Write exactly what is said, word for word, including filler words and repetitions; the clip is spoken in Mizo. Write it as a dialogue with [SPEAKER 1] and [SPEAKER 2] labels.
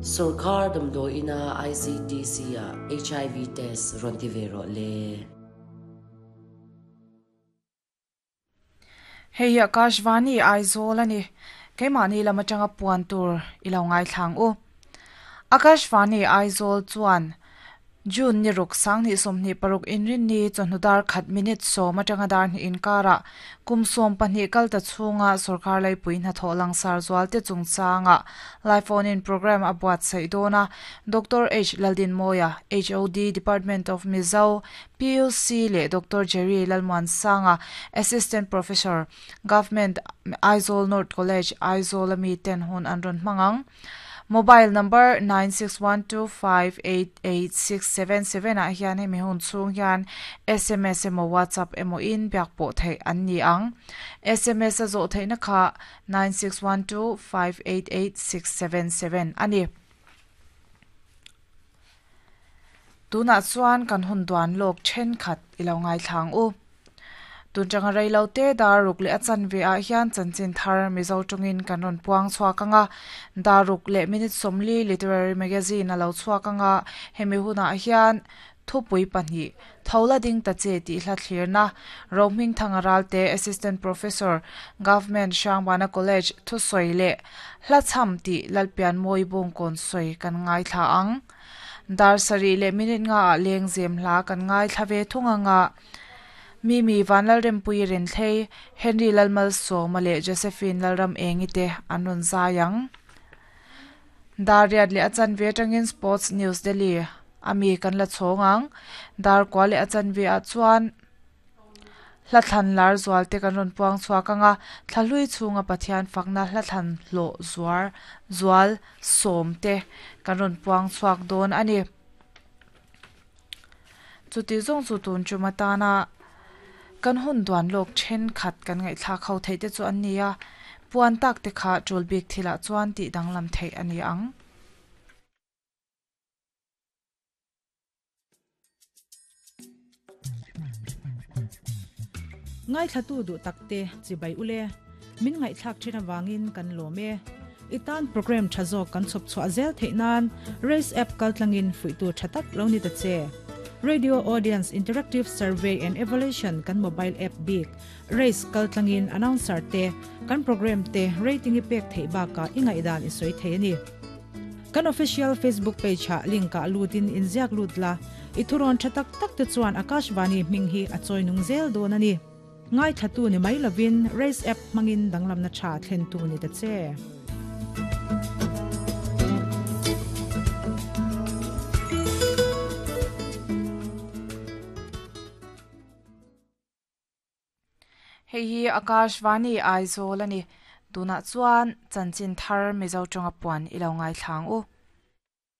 [SPEAKER 1] Sorkar damdawi ina I C T C ah H I V test rawn ti ve rawh le.
[SPEAKER 2] Hei hi Akashvani Aizawl ani. Keimahni lam atanga puan tur i lo ngai thlang u. Akashvani Aizawl chuan June ni ruk sang ni sawmhnih paruk inrin ni chawhnu dar khat minute sawm atanga dar hnih inkara kum sawm pahnih kal ta chhunga sorkar laipui hnathawh langsar zual te chungchanga live phone in program a buatsaih dawn a. Doctor H Laldinmawia H O D Department of Mizo P U C leh Doctor Jerry Lalmuansanga Assistant Professor Government Aizawl North College Aizawl ami ten hun an rawn hmangang. Mobile number nine six one two five eight eight six seven seven ah hian hemi hun chhung hian S M S emaw WhatsApp emaw in biak pawh theih an ni ang. S M S a zawh theihna kha nine six one two five eight eight six seven seven ani. Tunah chuan kan hun duan lawk then khat i lo ngai thlang u. Tun tanga reilo te dar ruk leh a chanve ah hian chanchin thar Mizo tawngin kan rawn puang chhuak anga dar ruk leh minute sawmli literary magazine a lo chhuak anga hemi hunah hian thupui pahnih thola ding ta che tih hla thlirna Rohming Thangaral te Assistant Professor Government Hrangbana College thusawi leh hla cham tih Lalpian Mawi Bawngkawn sawi kan ngai thla ang. Dar sarih leh minute nga ah leng zem hla kan ngai thla ve thung anga Mimi Vanlal Rempui Renthlei Henry Lalmal Sawma leh Josephine Lalram Engi te an rawn zai ang. Dar riat leh a chanve atangin Sports News Delhi ami kan la chhawng ang. Dar kwa leh a chanve ah chuan hla thlan lar zual te kan rawn puang chhuak anga thlahlui chhunga Pathian fakna hla thlan hlawh zuar zual sawm te kan rawn puang chhuak dawn ani. Chuti zawng chu tun chuma tana kan hun duan lawk then khat kan ngaih thla kho thei te chu an nia puan tak te kha tul bik thila chuan ti danglam thei ani ang.
[SPEAKER 3] Ngai thlatu du takte chibai ule min ngai thlak thina wangin kan lome itan program thazo kan chop chwa zel theinan race app kaltlangin fuitu thatak lo ni ta che. Radio Audience Interactive Survey and Evaluation kan mobile app big race kaltlangin announcer te kan program te rating ipek thei ba ka ingai dan isoi thei ni. Kan official Facebook page ha link ka lutin inziak lutla ithuron thatak tak te chuan Akashvani hming hi a choinung zel don ani. Ngai thatu ni mai lovin race app mangin danglam na tha thlen tu ni ta che.
[SPEAKER 2] Hei hi Akashvani Aizawl ani. Tunah chuan chanchin thar Mizo tawnga puan i lo ngai thlang u.